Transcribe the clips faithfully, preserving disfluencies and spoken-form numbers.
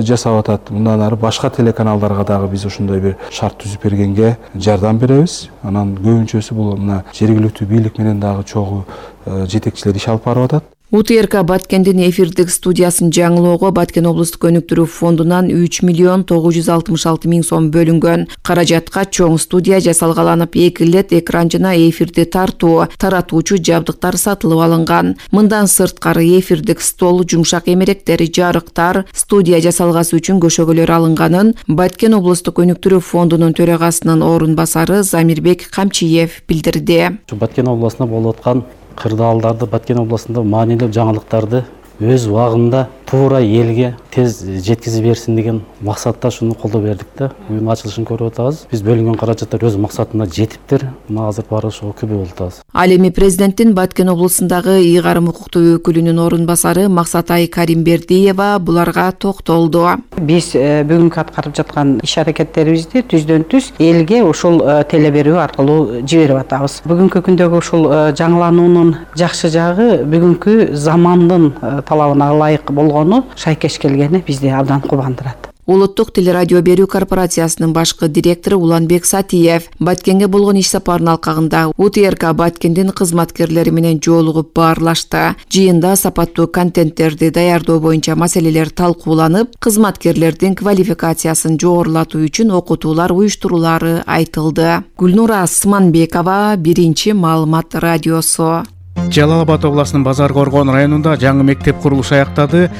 жасап атат. Мындан ары башка телеканалдарга дагы биз ошондой бир шарт түзүп бергенге жардам беребиз. Анан көбүнчөсү бул мына жергиликтүү бийлик менен дагы чогуу жетекчилер иш алып барып атат. У Т Р К Баткендин эфирдик студиясын жаңылоого Баткен облустук өнүктүрүү фондунан үч миллион тогуз жүз алтымыш алты миң сом бөлүнгөн. Каражатка чоң студия жасалгаланып, эки лет экран жана эфирди тартуу, таратуучу жабдыктар сатылып алынган. Мындан сырткары эфирдик стол, жумшак эмеректер, жарыктар, студия жасалгасы үчүн көшөгөлөр алынганын Баткен облустук өнүктүрүү фондунун төрагасынын орун басары Замирбек Камчиев билдирди. Баткен областында болуп аткан кырдаалдарды, Баткен областында маанилүү жаңылыктарды өз убагында туура элге тез жеткизип берсин деген максатта шуну колдоо бердик да. Бүгүн ачылышын көрүп атабыз. Биз бөлүнгөн каражаттар өз максатына жетиптир. Мына азыр баары ошого күбө болуп атабыз. Ал эми президенттин Баткен облусундагы ыйгарым укуктуу өкүлүнүн орун басары Максатай Каримбердиева буларга токтолду. Биз бүгүнкү аткарып жаткан иш аракеттерибизди түздөн түз элге ушул теле берүү аркылуу жиберип атабыз. Бүгүнкү күндөгү ушул жаңылануунун жакшы жагы бүгүнкү замандын талабына ылайык болгону, шайкеш келгени бизди абдан кубандырат. Улуттук телерадио берүү корпорациясынын башкы директору Уланбек Сатиев Баткенге болгон иш сапарынын алкагында У Т Р К Баткендин кызматкерлери менен жолугуп баарлашты. Жыйында сапаттуу контенттерди даярдоо боюнча маселелер талкууланып, кызматкерлердин квалификациясын жогорулатуу үчүн окутуулар уюштурулары айтылды. Гүлнура Асманбекова, Биринчи маалымат радиосу. Жалал Абад областынын Базар Коргон районунда жаңы мектеп курулушу аяктады.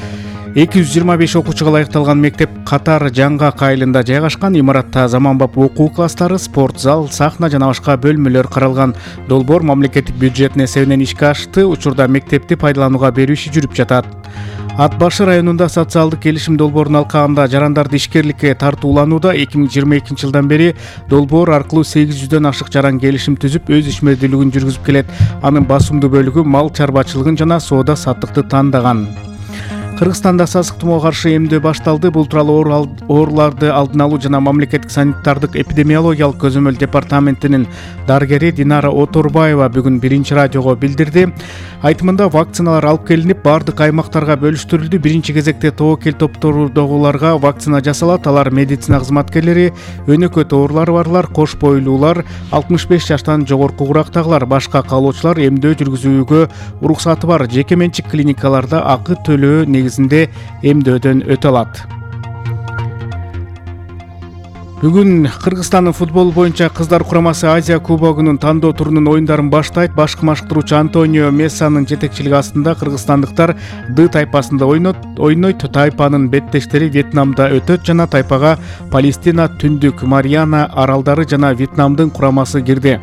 эки жүз жыйырма беш окуучуга ылайыкталган мектеп Катар Жаңгак айылында жайгашкан. Имаратта заманбап окуу класстары, спорт зал, сахна жана башка бөлмөлөр каралган. Долбоор мамлекеттик бюджеттин эсебинен ишке ашты. Учурда мектепти пайдаланууга берүү иши жүрүп жатат. Ат башы районунда социалдык келишим долбоорунун алкагында жарандарды ишкерликке тартууланууда. эки миң жыйырма экинчи жылдан бери долбоор аркылуу сегиз жүздөн ашык жаран келишим түзүп, өз ишмердүүлүгүн жүргүзүп келет. Анын басымдуу бөлүгү мал чарбачылыгын жана соода саттыкты тандаган. Кыргызстанда сасык туmoого каршы эмдөө башталды. Бул тууралуу ооруларды алдын алуу жана мамлекеттик санитардык эпидемиологиялык көзөмөл департаментинин дарыгери Динара Оторбаева бүгүн Биринчи радиого билдирди. Айтымында вакциналар алып келинип, бардык аймактарга бөлүштүрүлдү. Биринчи кезекте тобокел топтордогуларга вакцина жасалат. Алар медицина кызматкерлери, өнөкөт оорулары барлар, кош бойлуулар, алтымыш беш жаштан жогорку курактагылар, башка каалоочулар эмдөө жүргүзүүгө уруксаты бар жеке менчик клиникаларда акы төлөө негизинде эмдөөдөн өтө алат. Бүгүн Кыргызстандын футбол боюнча кыздар курамасы Азия кубогунун тандоо турунун оюндарын баштайт. Башкы машыктыруучу Антонио Мессанын жетекчилиги астында кыргызстандыктар Д тайпасында ойнойт. Тайпанын беттештери Вьетнамда өтөт жана тайпага Палестина, Түндүк Мариана аралдары жана Вьетнамдын курамасы кирди.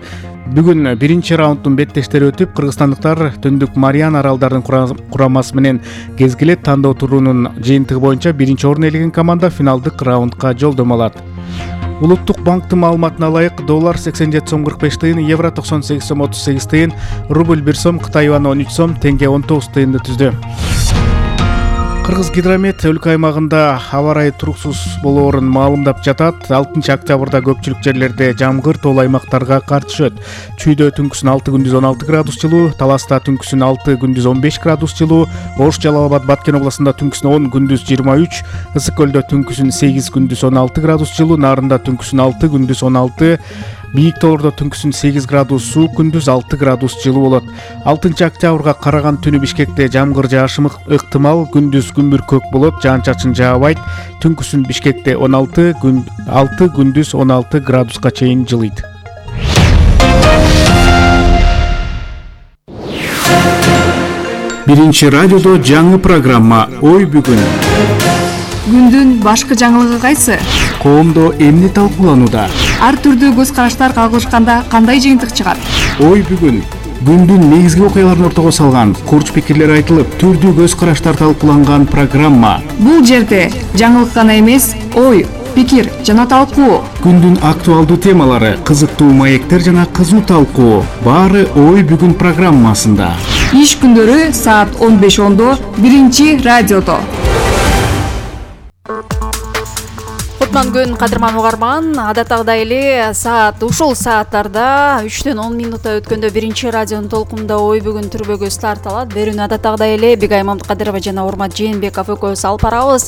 Бүгүн биринчи раунддун беттештери өтүп, кыргызстандыктар Түндүк Мариана аралдарын курамасы менен кезгилет. Тандоо турунун жыйынтыгы боюнча биринчи орун ээлеген команда финалдык раундга жолдомо алат. Улуттук банктын маалыматына ылайык, доллар сексен жети сом кырк беш тыйын, евро токсон сегиз сом отуз сегиз тыйын, рубль бир сом, Кытай юаны он үч сом, тенге он тогуз тыйынды түздү. Кыргыз гидромет өлкө аймагында аба ырайы туруксуз болоорун маалымдап жатат. алтынчы октябрда көпчүлүк жерлерде жамгыр тоол аймактарга кар түшөт. Чүйдө түнкүсүн алты күндүз он алты градус жылуу, Таласта түнкүсүн алты күндүз он беш градус жылуу, Ош, Жалал Абад, Баткен областында түнкүсүн он күндүз жыйырма үч, Ысык көлдө түнкүсүн сегиз күндүз он алты градус жылуу, Нарында түнкүсүн алты күндүз он алты, Бийик тоолордо түнкүсүн сегиз градус суук, күндүз алты градус жылуу болот. алтынчы октябрга караган түнү Бишкекте жамгыр жаашымы ыктымал, күндүз күмбүр көк болот, жаан-чачын жаабайт. Түнкүсүн Бишкекте он алты, алты күндүз он алты градуска чейин жылыйт. Биринчи радиодо жаңы программа Ой бүгүн. Күндүн башкы жаңылыгы кайсы? Коомдо эмне талкууланууда? Ар түрдүү көз караштар кагылышканда кандай жыйынтык чыгат? Ой бүгүн. Күндүн негизги окуяларын ортого салган, курч пикирлер айтылып, түрдүү көз караштар талкууланган программа. Бул жерде жаңылык гана эмес, ой, пикир жана талкуу. Күндүн актуалдуу темалары, кызыктуу маектер жана кызуу талкуу. Баары Ой бүгүн программасында. Иш күндөрү саат он беш ондо Биринчи радиодо. кутман күн кадырман угарман. Адаттагыдай эле саат ушул сааттарда үчтөн он минутта өткөндө биринчи радионун толкунунда ой бүгүн түрбөгө старт алат. Берүүнү адаттагыдай эле Бигай Мамдыкадырова жана Урмат Жээнбеков экөөбүз алып барабыз.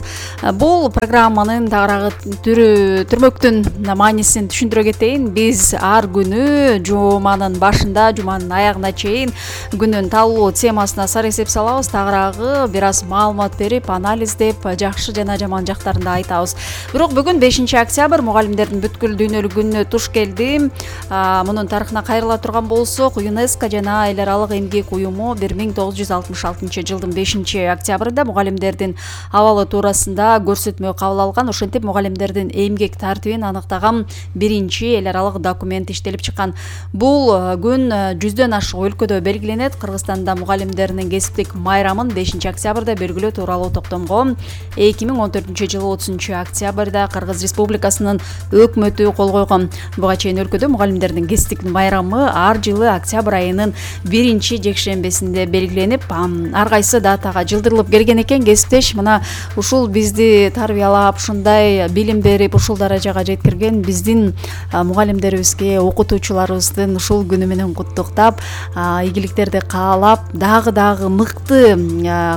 Бул программанын тагыраагы түрү түрмөктүн маанисин түшүндүрө кетейин. Биз ар күнү жуманын башында, жуманын аягына чейин күнүн талуу темасына сар эсеп салабыз. Тагыраагы бир аз маалымат берип, анализдеп, жакшы жана жаман жактарын да айтабыз. Бирок бүгүн бешинчи октябрь мугалимдердин бүткүл дүйнөлүк күнүнө туш келди. Мунун тарыхына кайрыла турган болсок, ЮНЕСКО жана эл аралык эмгек уюму бир миң тогуз жүз алтымыш алтынчы жылдын бешинчи октябрында мугалимдердин абалы туурасында көрсөтмө кабыл алган. Ошентип мугалимдердин эмгек тартибин аныктаган биринчи эл аралык документ иштелип чыккан. Бул күн жүздөн ашык өлкөдө белгиленет. Кыргызстанда мугалимдердин кесиптик майрамын бешинчи октябрда белгилөө тууралуу токтомго эки миң он төртүнчү жылы отузунчу октябрда Кыргыз Республикасынын өкмөтү кол койгон. Буга чейин өлкөдө мугалимдердин кесиптик майрамы ар жылы октябрь айынын биринчи жекшембесинде белгиленип, ар кайсы датага жылдырылып келген экен. Кесиптеш, мына ушул бизди тарбиялап, ушундай билим берип, ушул даражага жеткирген биздин мугалимдерибизге, окутуучуларыбыздын ушул күнү менен куттуктап, ийгиликтерди каалап, дагы дагы мыкты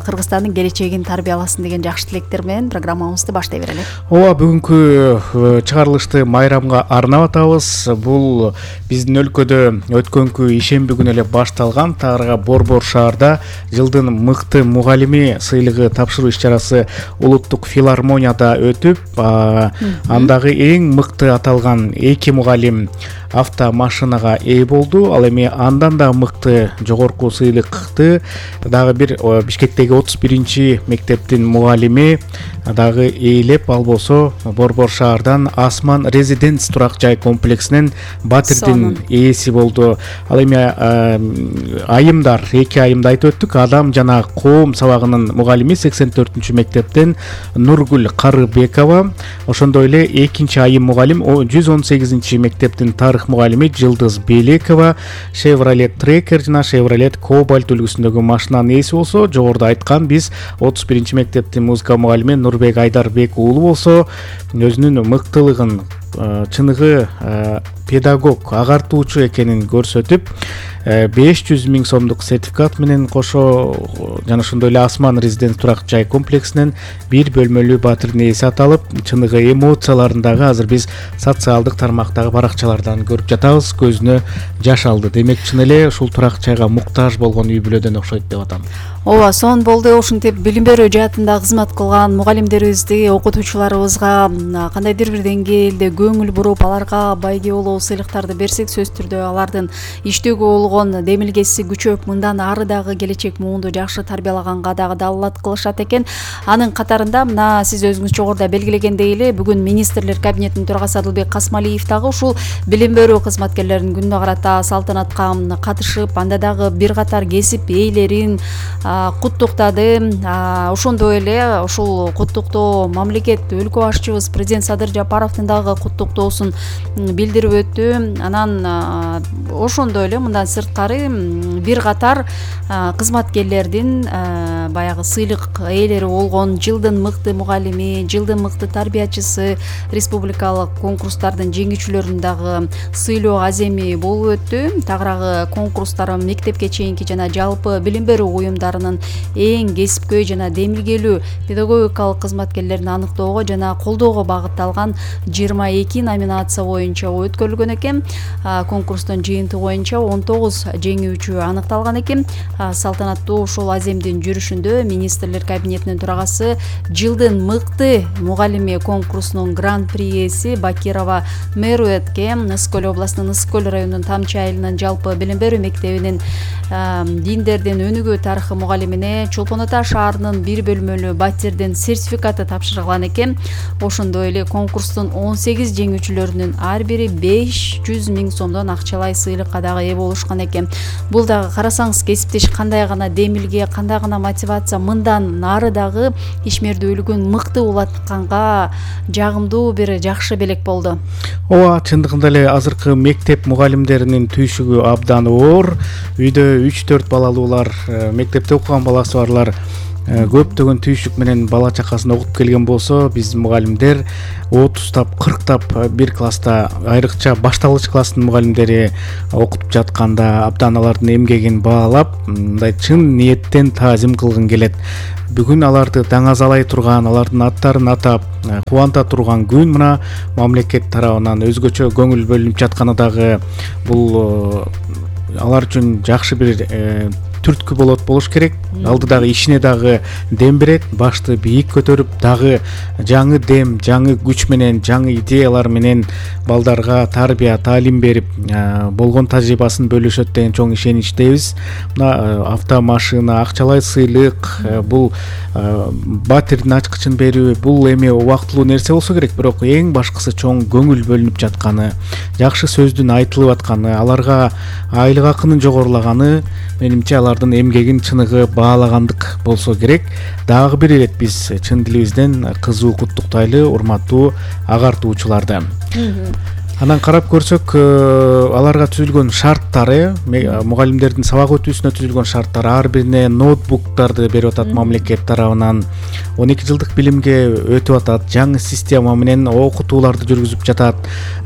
Кыргызстандын келечегин тарбияласын деген жакшы тилектер менен программабызды баштай берели. Ооба, бүгүнкү чыгарылышты майрамга арнап атабыз. Бул биздин өлкөдө өткөнкү ишемби күнү эле башталган тагырага Борбор шаарда жылдын мыкты мугалими сыйлыгы тапшыруу иш-чарасы улуттук филармонияда өтүп, андагы эң мыкты аталган эки мугалим автомашинага ээ болду. Ал эми андан да мыкты жогорку сыйлыкты дагы бир Бишкектеги отуз биринчи мектептин мугалими дагы ээлеп, ал болсо Борбор шаардан Асман резиденс турак жай комплексинин батирдин ээси болду. Ал эми айымдар, эки айымды айтып өттүк. Адам жана коом сабагынын мугалими сексен төртүнчү мектептен Нургүл Карыбекова, ошондой эле экинчи айым мугалим жүз он сегизинчи мектептин тарых мугалими Жылдыз Белекова, Chevrolet Tracker жана Chevrolet Cobalt үлгүсүндөгү машинанын ээси болсо, жогоруда айткан биз отуз биринчи мектептин музыка мугалими Нурбек Айдарбек уулу болсо, өзүнүн мыктылыгын, чыныгы педагог, агартуучу экенин көрсөтүп, беш жүз миң сомдук сертификат менен кошо жана ошондой эле Асман резиденс турак жай комплексинен бир бөлмөлүү батирдин ээси аталып, чыныгы эмоцияларын дагы азыр биз социалдык тармактагы баракчалардан көрүп жатабыз. Көзүнө жаш алды. Демек, чын эле ушул турак жайга муктаж болгон үй бүлөдөн окшойт деп атам. Ооба, сон болду. Ошентип билим берүү жаатында кызмат кылган мугалимдерибизди, окутуучуларыбызга кандайдыр бир деңгээлде көңүл буруп, аларга байге болуу сыйлыктарды берсек, сөзсүз түрдө алардын иштөөгө болгон демилгеси күчөп, мындан ары дагы келечек муунду жакшы тарбиялаганга дагы далалат кылышат экен. Анын катарында мына сиз өзүңүз жогоруда белгилегендей эле, бүгүн министрлер кабинетинин төрагасы Адылбек Касмалиев дагы ушул билим берүү кызматкерлеринин күнүнө карата салтанатка катышып, анда дагы бир катар кесип ээлерин куттуктады. Ошондой эле ушул куттуктоо мамлекет өлкө башчыбыз президент Садыр Жапаровдун дагы куттуктоосун билдирип өттү. Анан ошондой эле мындан сырткары бир катар кызматкерлердин баягы сыйлык ээлери болгон жылдын мыкты мугалими, жылдын мыкты тарбиячысы, республикалык конкурстардын жеңүүчүлөрүн дагы сыйлоо аземи болуп өттү. Тагыраагы конкурстар мектепке чейинки жана жалпы билим берүү уюмдарынын эң кесипкөй жана демилгелүү педагогикалык кызматкерлерин аныктоого жана колдоого багытталган жыйырма эки номинация боюнча өткөрүлгөн экен. Конкурстун жыйынтыгы боюнча он тогуз жеңүүчү аныкталган экен. Салтанаттуу ушул аземдин жүрүшүндө министрлер кабинетинин төрагасы жылдын мыкты мугалими конкурсунун гран-при ээси Бакирова Меруэтке, Ыскөл областынын Ыскөл районунун Тамчы айылынын жалпы билим берүү мектебинин диндердин өнүгүү тарыхы мугалимине Чолпон Ата шаарынын бир бөлмөлүү батирдин сертификаты тапшырылган экен. Ошондой эле конкурстун он сегиз жеңүүчүлөрүнүн ар бири беш жүз миң сомдон акчалай сыйлыкка дагы ээ болушкан экен. Бул дагы карасаңыз кесиптеш кандай гана демилге, кандай гана мотивация, мындан нары дагы ишмердүүлүгүн мыкты улатканга жагымдуу бир жакшы белек болду. Ооба, чындыгында эле азыркы мектеп мугалимдеринин түйшүгү абдан оор. Үйдө үч төрт балалуулар, мектепте окуган баласы барлар көптөгөн түйшүк менен бала чакасын окуп келген болсо, биздин мугалимдер отузтап кырктап бир класста, айрыкча башталгыч класстын мугалимдери окутуп жатканда абдан алардын эмгегин баалап, мындай чын ниеттен таазим кылгым келет. Бүгүн аларды даңазалай турган, алардын аттарын атап кубанта турган күн мына мамлекет тарабынан өзгөчө көңүл бөлүнүп жатканы дагы бул алар үчүн жакшы бир түрткү болот болуш керек. Алдыдагы ишине дагы дем берет, башты бийик көтөрүп, дагы жаңы дем, жаңы күч менен, жаңы идеялар менен балдарга тарбия, таалим берип, болгон тажрыйбасын бөлүшөт деген чоң ишеничтебиз. Мына автомашина, акчалай сыйлык, бул батирдин ачкычын берүү, бул эми убактылуу нерсе болсо керек, бирок эң башкысы чоң көңүл бөлүнүп жатканы, жакшы сөздүн айтылып атканы, аларга айлык акынын жогорулаганы, менимче алардын эмгегин чыныгы баалагандык болсо керек. Дагы бир ирет биз чын дилибизден кызуу куттуктайлы урматтуу агартуучуларды. Анан карап көрсөк, аларга түзүлгөн шарттары, мугалимдердин сабак өтүүсүнө түзүлгөн шарттар, ар бирине ноутбуктарды берип атат мамлекет тарабынан. он эки жылдык билимге өтүп атат, жаңы система менен окутууларды жүргүзүп жатат.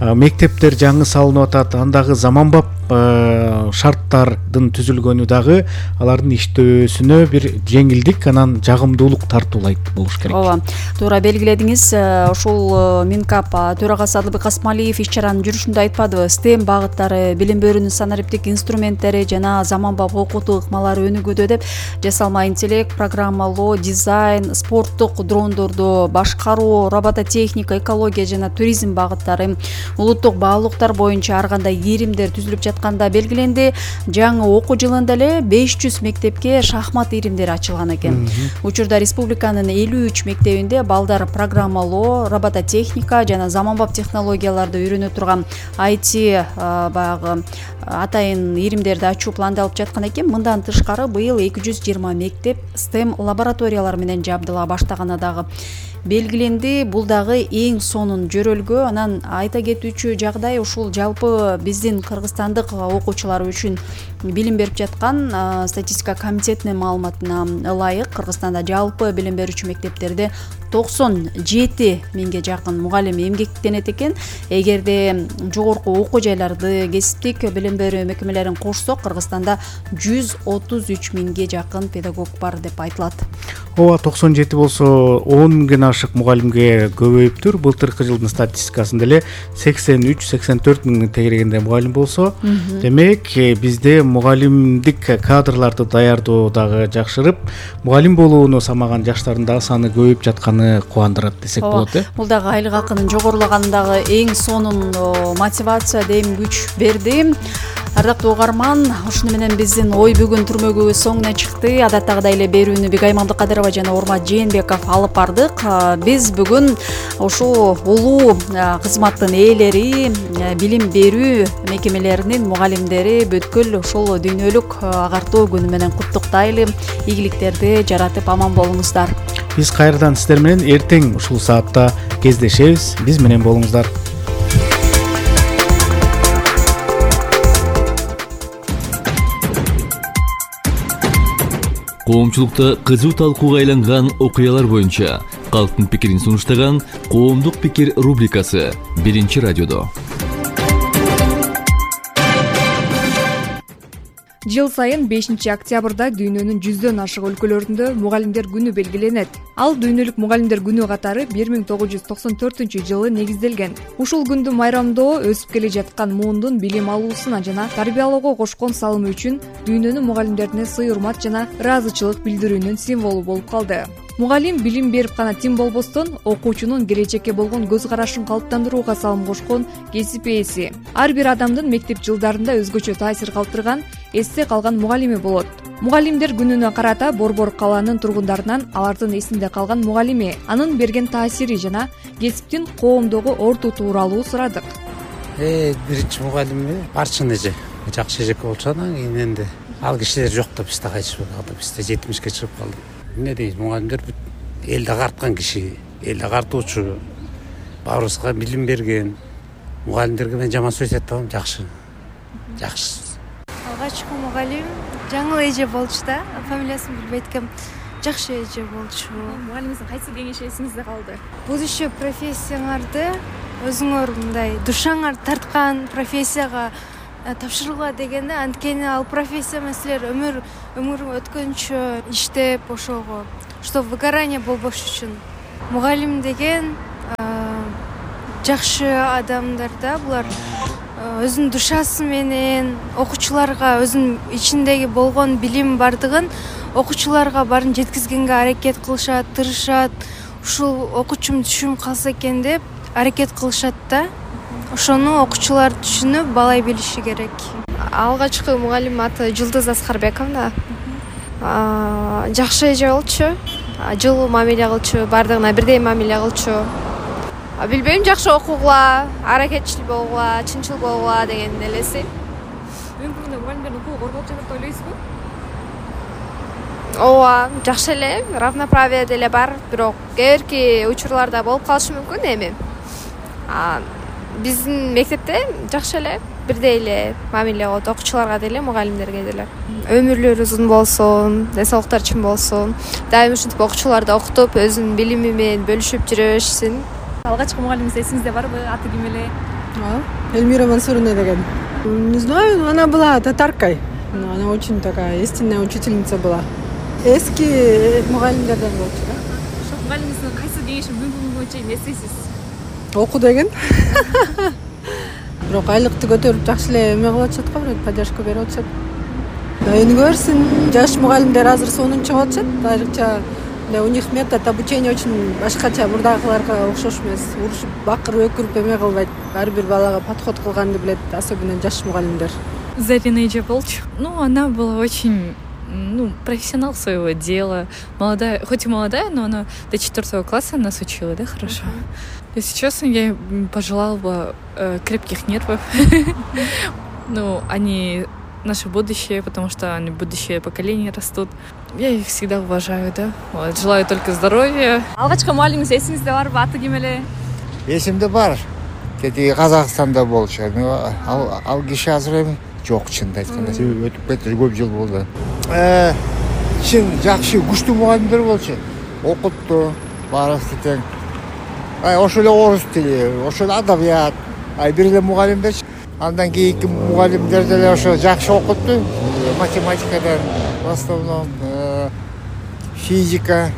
Мектептер жаңы салынып атат, андагы заманбап шарттардын түзүлгөнү дагы алардын иштөөсүнө бир жеңилдик, анан жагымдуулук тартуулайт болуш керек. Ооба, туура белгиледиңиз. Ушул Минкап төрагасы Адылбек Асмалиев иш чаранын жүрүшүндө айтпадыбы? STEM багыттары, билим берүүнүн санариптик инструменттери жана заманбап окутуу ыкмалары өнүгүүдө деп жасалма интеллект, программалоо, дизайн, спорттук дрондорду башкаруу, робототехника, экология жана туризм багыттары улуттук баалуулуктар боюнча ар кандай иримдер түзүлүп жатканда белгиленди. Жаңы окуу жылында эле беш жүз мектепке шахмат иримдери ачылган экен. Учурда республиканын элүү үч мектебинде балдар программалоо, робототехника жана заманбап технологияларды үйрөнө турган ай ти баягы атайын иримдерди ачуу пландалып жаткан экен. Мындан тышкары быйыл эки жүз жыйырма мектеп STEM лабораториялар менен жабдыла баштаганы дагы белгиленди. Бул дагы эң сонун жөрөлгө. Анан айта кетүүчү жагдай, ушул жалпы биздин кыргызстандык окуучулар үчүн билим берип жаткан статистика комитетинин маалыматына ылайык, Кыргызстанда жалпы билим берүүчү мектептерде токсон жети миңге жакын мугалим эмгектенет экен. Эгерде жогорку окуу жайларды, кесиптик билим берүү мекемелерин кошсок, Кыргызстанда жүз отуз үч миңге жакын педагог бар деп айтылат. Ооба, токсон жети болсо он миңден ашык мугалимге көбөйүптүр. Былтыркы жылдын статистикасында эле сексен үч сексен төрт миңдин тегерегинде мугалим болсо, демек бизде мугалимдик кадрларды даярдоо дагы жакшырып, мугалим болууну самаган жаштардын дагы саны көбөйүп жатканы кубандырат десек болот. Э бул дагы айлык акынын жогорулаганы дагы эң сонун мотивация, дем күч берди. Ардактуу угарман, ушуну менен биздин ой бүгүн түрмөгүбүз соңуна чыкты. Адаттагыдай эле берүүнү Бигай Мамдыкадырова жана Урмат Жээнбеков алып бардык. Биз бүгүн ушул улуу кызматтын ээлери, билим берүү мекемелеринин мугалимдери бүткүл ушул дүйнөлүк агартуу күнү менен куттуктайлы, ийгиликтерди жаратып аман болуңуздар. Биз кайрадан сиздер менен эртең ушул саатта кездешебиз. Биз менен болуңуздар. Коомчулукта кызуу талкууга айланган окуялар боюнча калктын пикирин сунуштаган Коомдук пикир рубрикасы биринчи радиодо. Жыл сайын бешинчи октябрда дүйнөнүн жүздөн ашык өлкөлөрүндө мугалимдер күнү белгиленет. Ал дүйнөлүк мугалимдер күнү катары бир миң тогуз жүз токсон төртүнчү жылы негизделген. Ушул күндү майрамдоо өсүп келе жаткан муундун билим алуусуна жана тарбиялоого кошкон салымы үчүн дүйнөнүн мугалимдерине сый-урмат жана ыраазычылык билдирүүнүн символу болуп калды. Мугалим билим берип гана тим болбостон, окуучунун келечекке болгон көз карашын калыптандырууга салым кошкон кесип ээси. Ар бир адамдын мектеп жылдарында өзгөчө таасир калтырган, эсте калган мугалими болот. Мугалимдер күнүнө карата Борбор калаанын тургундарынан алардын эсинде калган мугалими, анын берген таасири жана кесиптин коомдогу орду тууралуу сурадык. Э, биринчи мугалими барчын эже, жакшы эжеке болчу, анан кийин энди ал кишилер жок да бизде кайтышып калды, бизде жетимишке чыгып калды. Эмне дейт, мугалимдер элди агарткан киши, элди агартуучу, баарыбызга билим берген. Мугалимдерге мен жаман сөз айта албайм, жакшы. Жакшы. Алгачкы мугалим жаңыл эже болчу да, фамилиясын билбейт экем. жакшы эже болчу. Мугалимиңиздин кайсы кеңеши эсиңизде калды? Будущее профессияңарды өзүңөр мындай душаңар тарткан профессияга тапшыргыла дегенде, анткени ал профессия маселелер өмүр өмүр өткөнчө иштеп ошого что выгорание болбош үчүн мугалим деген жакшы адамдар да, булар өзүнүн душасы менен окуучуларга өзүнүн ичиндеги болгон билим бардыгын окуучуларга баарын жеткизгенге аракет кылышат, тырышат. Ушул окуучум түшүнүп калса экен деп аракет кылышат да. Ошону окуучулар түшүнүп, балай билиши керек. Алгачкы мугалим аты Жылдыз Аскарбековна. Жакшы эже болчу. Жылуу мамиле кылчу, бардыгына бирдей мамиле кылчу. Билбейм, жакшы окугула, аракетчил болгула, чынчыл болгула деген элеси. Бүгүнкү күндө мугалимдердин укугу корголуп жатат деп ойлойсузбу? Ооба, жакшы эле, равноправие деле бар, бирок кээ бирки учурларда болуп калышы мүмкүн эми. Биздин мектепте жакшы эле, бирдей эле мамиле кылат окуучуларга деле, мугалимдерге деле. Өмүрлөрү узун болсун, ден соолуктары чың болсун. Дайым ушинтип окуучуларды окутуп, өзүнүн билими менен бөлүшүп жүрө беришсин. Алгачкы мугалимиңиз эсиңизде барбы? Аты ким эле? Эльмира Мансуровна деген. Не знаю, она была татаркой. Но она очень такая истинная учительница была. Эски мугалимдерден болчу да. Ошо мугалимиңиздин кайсы кеңешин бүгүнкү күнгө чейин эстейсиз? Оку деген. Бирок айлыкты көтөрүп жакшы эле эме кылып атышат го, бирок поддержка берип атышат. Өнүгө берсин. Жаш мугалимдер азыр сонун чыгып атышат. Айрыкча у них метод обучения очень башкача, мурдагыларга окшош эмес. Урушуп, бакырып, өкүрүп эме кылбайт. Ар бир балага подход кылганды билет, особенно жаш мугалимдер. Зарина эже болчу. Ну, она была очень, ну, профессионал своего дела. Молодая, хоть и молодая, но она до четвертого класса нас учила, да, хорошо. Uh-huh. Если честно, я ей пожелала бы э, крепких нервов. Ну, они наше будущее, потому что они будущее поколение растут. Я их всегда уважаю, да. Вот, желаю только здоровья. Алгачкы мугалимиңиз эсиңизде барбы? Аты ким эле? Эсимде бар. Кетиги Казакстанда болчу. Ал ал киши азыр эми жок, чынын айтканда. Себеби өтүп кетти, көп жыл болду. Э, чын жакшы, күчтүү мугалимдер болчу. Окутту, баарыбызды тең. Ай, ошол эле орус тили, ошол эле адабият. Ай, бир эле мугалимдер. Андан кийинки мугалимдер деле ошо жакшы окутту. Математикадан в основном, физика,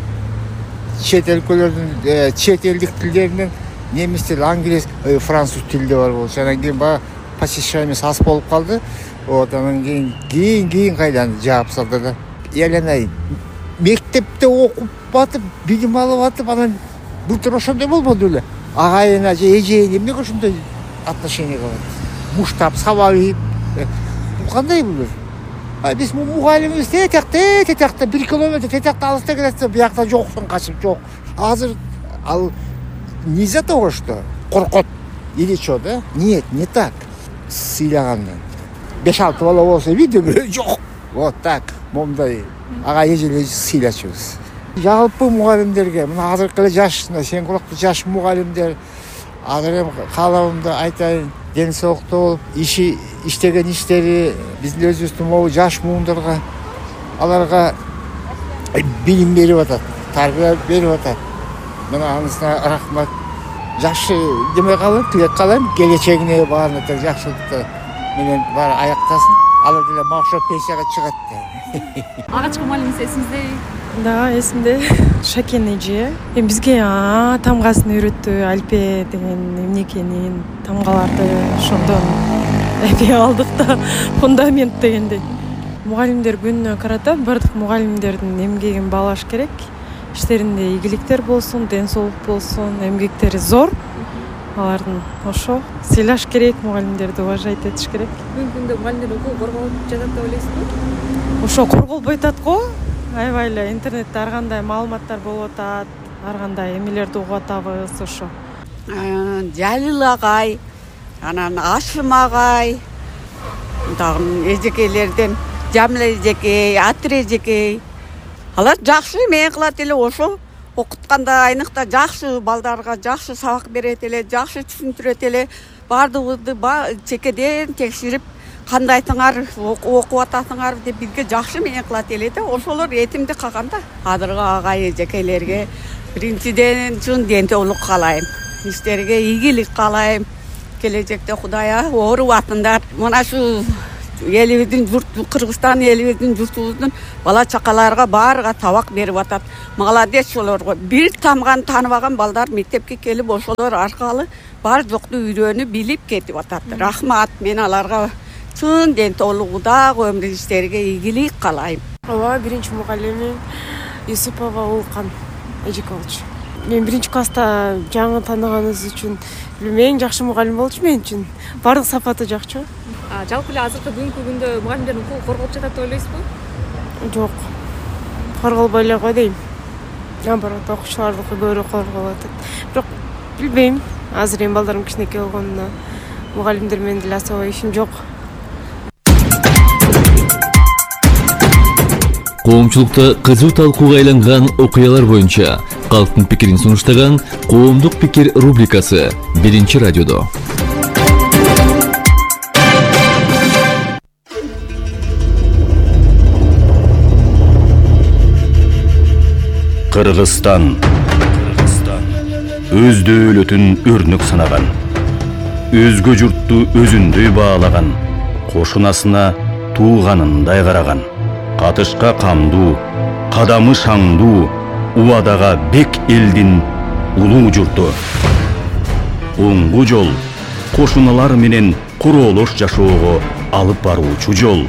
чет өлкөлөрдүн, чет элдик тилдеринен немис тили, англис, француз тилде бар болчу. Анан кийин баягы посещаемость аз болуп калды. Вот, анан кийин кийин кийин кайдан жаап салды да. Эленай, мектепте окуп атып, билим алып атып, анан былтыр ошондой болбоду эле. Агайына же эжеге эмнеге ошондой отношение кылат? Муштап, сабап, бул кандай бул? А биз мугалимибиз тетекте, тетекте бир километр тетекте алыста келатса, биякта жоксуң, качып жок. Азыр ал не из-за того, что коркот или что, да? Нет, не так. Сыйлагандан. беш-алты бала болсо видео жок. Вот так, момундай ага эжелер сыйлачубуз. Жалпы мугалимдерге, мына азыркы эле жаш, сен кулактуу жаш мугалимдер, азыр эми каалабымды айтайын, ден соолуктуу болуп, иши иштеген иштери биздин өзүбүздүн могу жаш муундарга, аларга билим берип атат, тарбия берип атат. Мына анысына рахмат. Жакшы деме калам, тилек калам, келечегине баарына тең жакшылыкты менен баары аяктасын. Алар деле макшот пенсияга чыгат. Алгачкы мугалимиңиз эсиңизде? Да, эсимде. Шакен эже. Эми бизге тамгасын үйрөттү, альпе деген эмнекенин, тамгаларды ошондон эме алдык да, фундамент дегендей. Мугалимдер күнүнө карата бардык мугалимдердин эмгегин баалаш керек. Иштеринде ийгиликтер болсун, ден соолук болсун, эмгектери зор. Алардын ошо сыйлаш керек, мугалимдерди уважать этиш керек. Бүгүнкү күндө мугалимдердин укугу корголуп жатат деп ойлойсузбу? Ошо корголбой атат го. Аябай эле интернетте ар кандай маалыматтар болуп атат, ар кандай эмелерди угуп атабыз ошо. Жалил агай, анан Ашым агай, дагы эжекейлерден Жамила эжекей, Атыр эжекей. Алар жакшы эме кылат эле, ошо окутканда айныкта жакшы балдарга жакшы сабак берет эле, жакшы түшүндүрөт эле. Бардыгыбызды чекеден текширип кандайтыңар окуп атасыңар деп бизге жакшы менен кылат эле да, ошолор этимди калган да. Азыркы агай эжекелерге биринчиден чын дентеулук каалайм, иштерге ийгилик каалайм. Келечекте Кудайга оорубатындар. Мына шу элибиздин журту, Кыргызстан элибиздин журтубуздун бала чакаларга баарыга табак берип атат. Молодец ошолорго. Бир тамган тааныбаган балдар мектепке келип ошолор аркылуу бар жокту үйрөнүп билип кетип атат. Рахмат, мен аларга чын дентеулугу дагы өмүр иштерге ийгилик каалайм. Ооба, биринчи мугалимим Юсупова Улкан Эжикович. Мен биринчи класста жаңы тааныганыбыз үчүн эң жакшы мугалим болчу мен үчүн. Бардык сапаты жакчу. Жалпы эле азыркы бүгүнкү күндө мугалимдердин укугу корголуп жатат деп ойлойсузбу? Жок. Корголбой эле го дейм. Наоборот, окуучулардыкы көбүрөөк корголуп атат. Бирок билбейм. Азыр эми балдарым кичинекей болгондо мугалимдер менен деле особо ишим жок. Коомчулукта кызуу талкууга айланган окуялар боюнча калктын пикирин сунуштаган Коомдук пикир рубрикасы биринчи радиодо. Кыргызстан өз дөөлөтүн өрнөк санаган, өзгө журтту өзүндөй баалаган, кошунасына тууганындай караган, катышка камдуу, кадамы шаңдуу, убадага бек элдин улуу журту. Оңгу жол, кошуналар менен куроолош жашоого алып баруучу жол.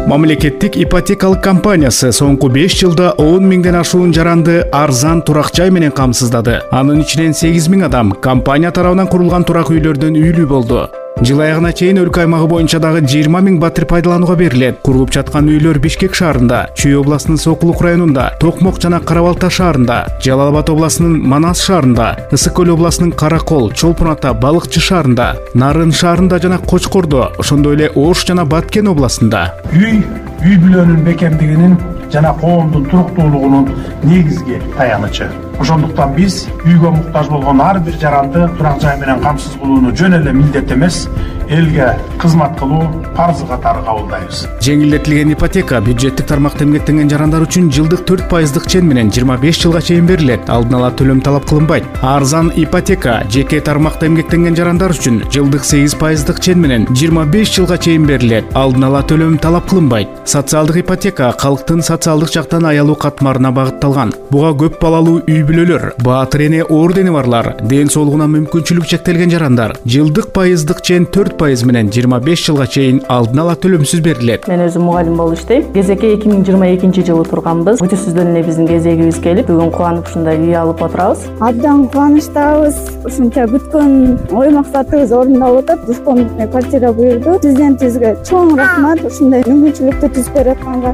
Мамлекеттик ипотекалык компаниясы соңку беш жылда он миңден ашуун жаранды арзан турак жай менен камсыздады. Анын ичинен сегиз миң адам компания тарабынан курулган турак үйлөрдөн үйлүү болду. Жыл аягына чейин өлкө аймагы боюнча дагы жыйырма миң батир пайдаланууга берилет. Курулуп жаткан үйлөр Бишкек шаарында, Чүй областынын Сокулук районунда, Токмок жана Карабалта шаарында, Жалал Абад областынын Манас шаарында, Ысык көл областынын Каракол, Чолпон Ата, Балыкчы шаарында, Нарын шаарында жана Кочкордо, ошондой эле Ош жана Баткен областында. Үй үй бүлөнүн бекемдигинин жана коомдун туруктуулугунун негизги таянычы. Ошондуктан биз үйгө муктаж болгон ар бир жаранды турак жай менен камсыз кылууну жөн эле милдет эмес, элге кызмат кылуу парзы катары кабылдайбыз. Жеңилдетилген ипотека бюджеттик тармакта эмгектенген жарандар үчүн жылдык төрт пайыздык чен менен жыйырма беш жылга чейин берилет. Алдын ала төлөм талап кылынбайт. Арзан ипотека жеке тармакта эмгектенген жарандар үчүн жылдык сегиз пайыздык чен менен жыйырма беш жылга чейин берилет. Алдын ала төлөм талап кылынбайт. Социалдык ипотека калктын социалдык жактан аялуу катмарына багытталган. Буга көп балалуу үй бүлөлөр, баатыр эне ордени барлар, ден соолугуна мүмкүнчүлүк чектелген жарандар жылдык пайыздык чен төрт пайыз менен жыйырма беш жылга чейин алдын ала төлөмсүз берилет. Мен өзүм мугалим болуп иштейм. Кезекке эки миң жыйырма экинчи жылы турганбыз. Күтүүсүздөн эле биздин кезегибиз келип, бүгүн кубанып ушундай үй алып отурабыз. Абдан кубанычтабыз. Ушунча күткөн ой максатыбыз орундалып атат. Дуспон квартира буйрду. Президентибизге чоң рахмат ушундай мүмкүнчүлүктү түзүп берип атканга.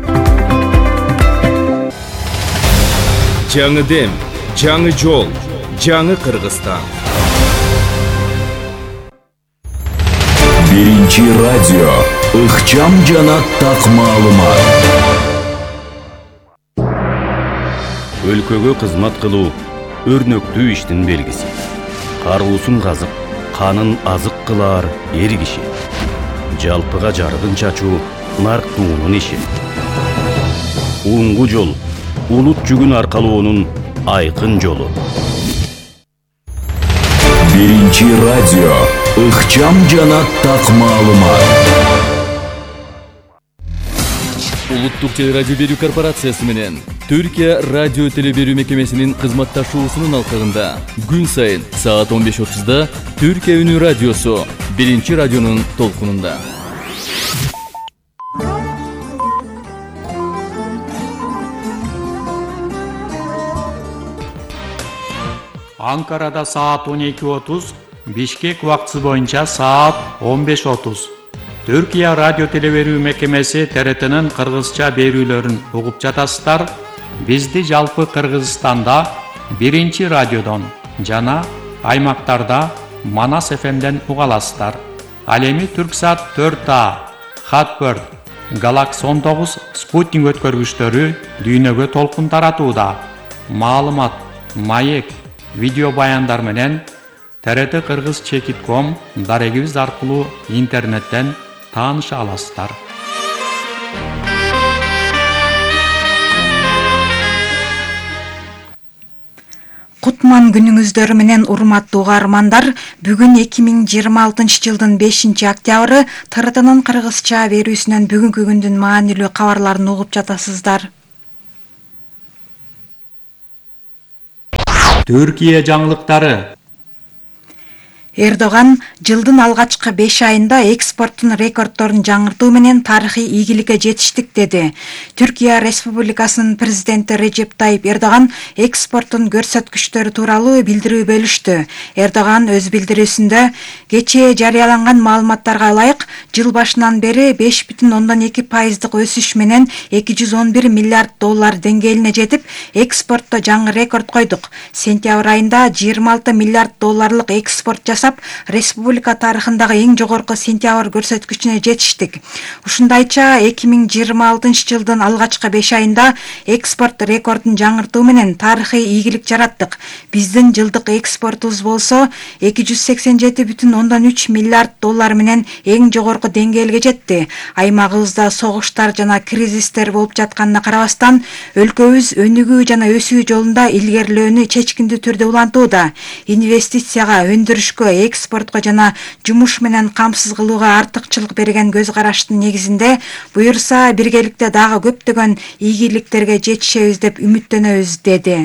Жаңы дем, жаңы жол, жаңы Кыргызстан. Биринчи радио, ыкчам жана так маалымат. Өлкөгө кызмат кылуу өрнөктүү иштин белгиси. Каруусун казып, канын азык кылар эр киши. Жалпыга жарыгын чачуу нарктуунун иши. Оңгу жол улут жүгүн аркалоонун айкын жолу. Биринчи радио, ыкчам жана так маалымат. Улуттук телерадио берүү корпорациясы менен Түркия радио телеберүү мекемесинин кызматташуусунун алкагында күн сайын саат он беш отузда Түркия үнү радиосу биринчи радионун толкунунда. Анкарада саат он эки отуз, Бишкек убактысы боюнча саат он беш отуз. Түркия радио телеберүү мекемеси Т Р Т'нын кыргызча берүүлөрүн угуп жатасыздар. Бизди жалпы Кыргызстанда биринчи радиодон жана аймактарда Манас эф эмден уга аласыздар. Ал эми Түрксат төрт А, Хатберт, Галакс он тогуз спутник өткөргүчтөрү дүйнөгө толкун таратууда. Маалымат, маек, видео баяндар менен Т Р Т Кыргыз чекит ком дарегибиз аркылуу интернеттен тааныша аласыздар. Кутман күнүңүздөр менен урматтуу угармандар, бүгүн эки миң жыйырма алтынчы жылдын бешинчи октябры Т Р Т'нын кыргызча берүүсүнөн бүгүнкү күндүн маанилүү кабарларын угуп жатасыздар. Түркия жаңылыктары. Эрдоган жылдын алгачкы беш айында экспорттун рекорддорун жаңыртуу менен тарыхый ийгиликке жетиштик деди. Түркия Республикасынын президенти Режеп Тайип Эрдоган экспорттун көрсөткүчтөрү тууралуу билдирүү бөлүштү. Эрдоган өз билдирүүсүндө кечээ жарыяланган маалыматтарга ылайык жыл башынан бери беш бүтүн ондон эки пайыздык өсүш менен эки жүз он бир миллиард доллар деңгээлине жетип, экспортто жаңы рекорд койдук. Сентябрь айында жыйырма алты миллиард долларлык экспорт жасап, республика тарыхындагы эң жогорку сентябрь көрсөткүчүнө жетиштик. Ушундайча эки миң жыйырма алтынчы жылдын алгачкы беш айында экспорт рекордун жаңыртуу менен тарыхый ийгилик жараттык. Биздин жылдык экспортубуз болсо эки жүз сексен жети бүтүн ондон үч миллиард доллар менен эң жогорку деңгээлге жетти. Аймагыбызда согуштар жана кризистер болуп жатканына карабастан, өлкөбүз өнүгүү жана өсүү жолунда илгерилөөнү чечкиндүү түрдө улантууда. Инвестицияга, өндүрүшкө, экспортко жана жумуш менен камсыз кылууга артыкчылык берген көз караштын негизинде буюрса биргеликте дагы көптөгөн ийгиликтерге жетишебиз деп үмүттөнөбүз, деди.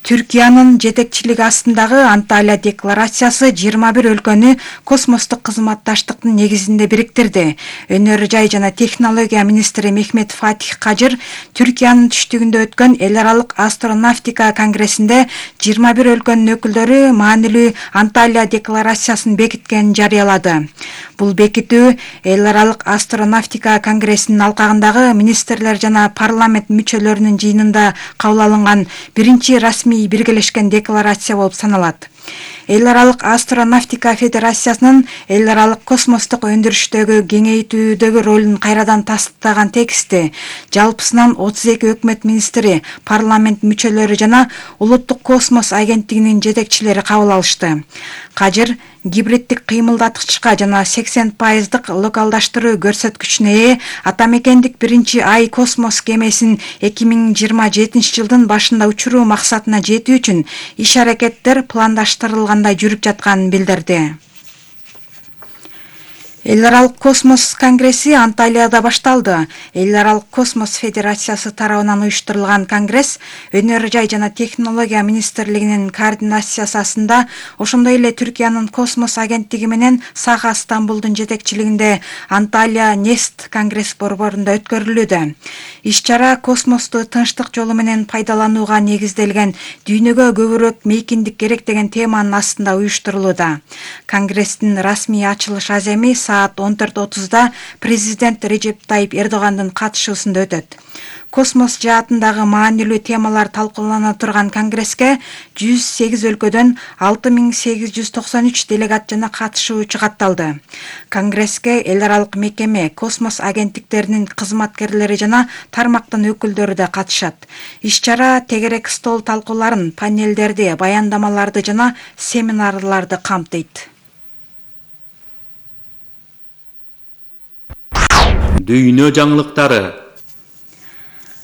Түркиянын жетекчилиги астындагы Анталия декларациясы жыйырма бир өлкөнү космостук кызматташтыктын негизинде бириктирди. Өнөр жай жана технология министри Мехмет Фатих Кажыр Түркиянын түштүгүндө өткөн эл аралык астронавтика конгрессинде жыйырма бир өлкөнүн өкүлдөрү маанилүү Анталия декларациясын бекиткенин жарыялады. Бул бекитүү эл аралык астронавтика конгрессинин алкагындагы министрлер жана парламент мүчөлөрүнүн жыйынында кабыл алынган биринчи расмий биргелешкен декларация болуп саналат. Эл аралык астронавтика федерациясынын эл аралык космостук өндүрүштөгү кеңейтүүдөгү ролун кайрадан тастыктаган тексти жалпысынан отуз эки өкмөт министри, парламент мүчөлөрү жана улуттук космос агенттигинин жетекчилери кабыл алышты. Кажыр гибриддик кыймылдаткычка жана сексен пайыздык локалдаштыруу көрсөткүчүнө ээ атамекендик биринчи ай космос кемесин эки миң жыйырма жетинчи жылдын башында учуруу максатына жетүү үчүн иш-аракеттер пландаштырылгандай жүрүп жатканын билдирди. Эл аралык космос конгресси Анталияда башталды. Эл аралык космос федерациясы тарабынан уюштурулган конгресс өнөр жай жана технология министрлигинин координациясы астында, ошондой эле Түркиянын космос агенттиги менен Саха Стамбулдун жетекчилигинде Анталия Нест конгресс борборунда өткөрүлүүдө. Иш-чара космосту тынчтык жолу менен пайдаланууга негизделген дүйнөгө көбүрөөк мейкиндик керек деген теманын астында уюштурулууда. Конгресстин расмий ачылыш аземи саат он төрт отузда президент Режеп Тайип Эрдогандын катышуусунда өтөт. Космос жаатындагы маанилүү темалар талкуулана турган конгресске жүз сегиз өлкөдөн алты миң сегиз жүз токсон үч делегат жана катышуучу катталды. Конгресске эл аралык мекеме, космос агенттиктеринин кызматкерлери жана тармактын өкүлдөрү да катышат. Иш-чара тегерек стол талкууларын, панелдерди, баяндамаларды жана семинарларды камтыйт. Дүйнө жаңылыктары.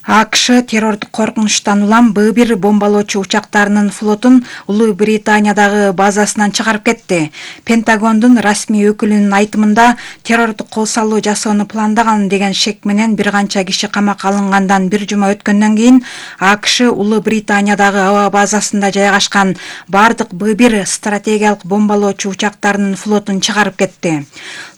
АКШ террордук коркунучтан улам Б бир бомбалоочу учактарынын флотун Улуу Британиядагы базасынан чыгарып кетти. Пентагондун расмий өкүлүнүн айтымында террордук кол салуу жасоону пландаган деген шек менен бир канча киши камакка алынгандан бир жума өткөндөн кийин АКШ Улуу Британиядагы аба базасында жайгашкан бардык Б бир стратегиялык бомбалоочу учактарынын флотун чыгарып кетти.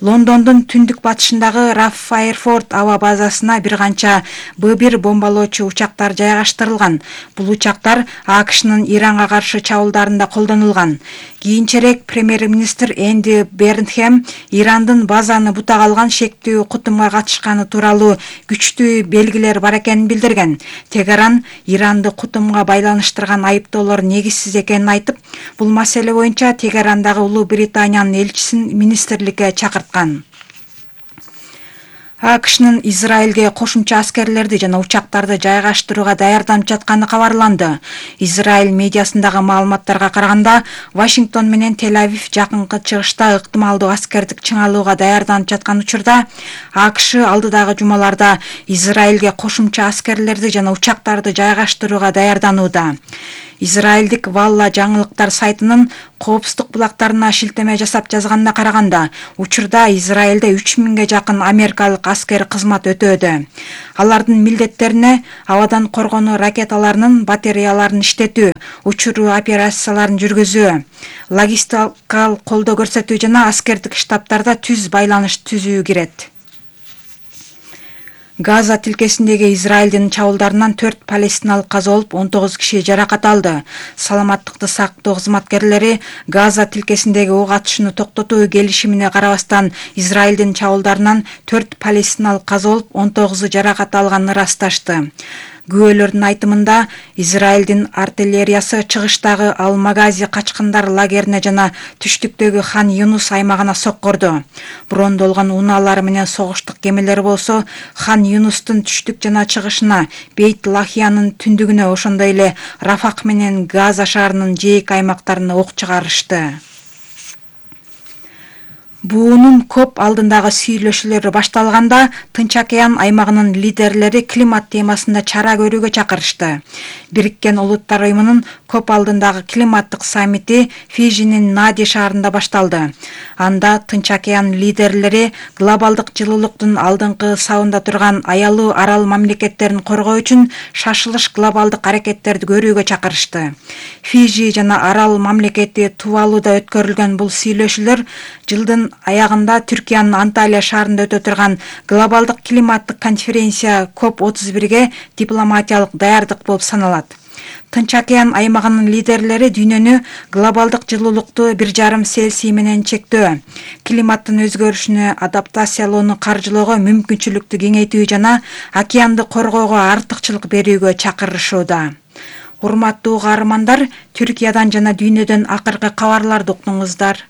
Лондондун түндүк батышындагы Раф Файерфорд аба базасына бир канча Б бир бомбалоочу учактар жайгаштырылган. Бул учактар АКШнын Иранга каршы чабуулдарында колдонулган. Кийинчерээк премьер-министр Энди Бернхэм Ирандын базаны бутак алган шектүү кутумга катышканы тууралуу күчтүү белгилер бар экенин билдирген. Тегеран Иранды кутумга байланыштырган айыптоолор негизсиз экенин айтып, бул маселе боюнча Тегерандагы Улуу Британиянын элчисин министрликке чакырткан. АКШнын Израилге кошумча аскерлерди жана учактарды жайгаштырууга даярданып жатканы кабарланды. Израиль медиасындагы маалыматтарга караганда, Вашингтон менен Тель-Авив жакынкы чыгышта ыктымалдуу аскердик чыңалууга даярданып жаткан учурда, АКШ алдыдагы жумаларда Израилге кошумча аскерлерди жана учактарды жайгаштырууга даярданууда. Израилдик Валла жаңылыктар сайтынын коопсуздук булактарына шилтеме жасап жазганына караганда, учурда Израилде үч миңге жакын америкалык аскер кызмат өтөөдө. Алардын милдеттерине абадан коргонуу ракеталарынын батареяларын иштетүү, учуруу операцияларын жүргүзүү, логистикалык колдоо көрсөтүү жана аскердик штабтарда түз байланыш түзүү кирет. Газа тилкесиндеги Израилдин чабуулдарынан төрт палестиналык каза болуп, он тогуз киши жаракат алды. Саламаттыкты сактоо кызматкерлери Газа тилкесиндеги ок атышууну токтотуу келишимине карабастан Израилдин чабуулдарынан төрт палестиналык каза болуп, он тогузу жаракат алганын ырасташты. Күбөлөрдүн айтымында, Израилдин артиллериясы чыгыштагы Ал-Магази качкындар лагерине жана түштүктөгү Хан Юнус аймагына соккорду. Брондолгон унаалары менен согуштук кемелер болсо, Хан Юнустун түштүк жана чыгышына, Бейт Лахиянын түндүгүнө, ошондой эле Рафак менен Газа шаарынын жээк аймактарына ок чыгарышты. Буунун көп алдындагы сүйлөшүүлөрү башталганда, Тынч океан аймагынын лидерлери климат темасында чара көрүүгө чакырышты. Бириккен Улуттар уюмунун көп алдындагы климаттык саммити Фижинин Нади шаарында башталды. Анда Тынч океан лидерлери глобалдык жылуулуктун алдыңкы сабында турган аялуу арал мамлекеттерин коргоо үчүн шашылыш глобалдык аракеттерди көрүүгө чакырышты. Фижи жана арал мамлекети Тувалуда өткөрүлгөн бул сүйлөшүүлөр жылдын аягында Түркиянын Анталия шаарында өтө турган глобалдык климаттык конференция коп отуз бирге дипломатиялык даярдык болуп саналат. Тынч океан аймагынын лидерлери дүйнөнү глобалдык жылуулукту бир жарым Цельсий менен чектөө, климаттын өзгөрүшүнө адаптациялоону каржылоого мүмкүнчүлүктү кеңейтүү жана океанды коргоого артыкчылык берүүгө чакырышууда. Урматтуу каармандар, Түркиядан жана дүйнөдөн акыркы кабарларды уктуңуздар.